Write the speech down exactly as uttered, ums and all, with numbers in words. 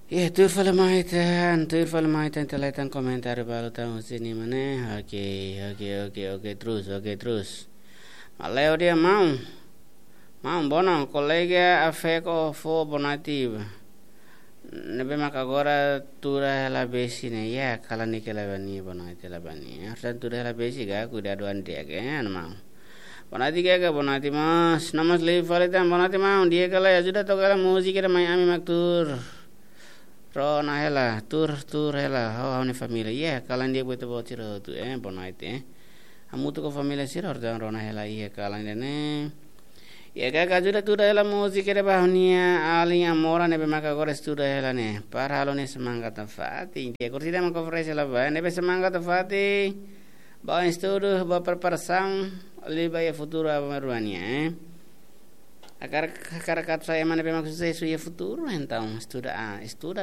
Iha, tuir fali mai tan, tuir fali mai tan, ita leten komentáriu balu tan husi nia mane. Oke, oke, oke, oke, terus, oke, terus. Maleo dia mau. Mau, bono, kolega Afeko fó bonoite ba. Ne'ebé maka agora tuur hela besi ne'e, iha kalan nia ke la bani, bonoite la bani. Harus tuur hela besi ka, kuidadu an di'ak, eh, anu mau. Bonoite ka, ka bonoite mós, no mós live fali tan, bonoite mau, di'ak ka lae, ajuda toka hela múzika ida mai ami mak tuur. Rona hela, tuur, tuur hela, ho, ho ha'u-nia família. Iha, kalan di'ak buat ita-boot sira hotu, eh, bonoite, eh. Hamutuk ho família sira, harus rona hela, iha, kalan ida-ne'e. Iha, ka, ka ajuda tuur hela múzika ida ba ha'u-nia alin Amora ne'ebé maka agora estuda hela ne'e. Para halo nia semangat nafatin. Iha, kurtida mak oferese hela ba, ne'ebé semangat nafatin. Ba estudu, ba preparasaun, liuliu ba iha futuru aban-bainrua nian, eh. Hakarak, hakarak atu sai ema ne'ebé mak susesu iha futuru, entaun estuda, ah, estuda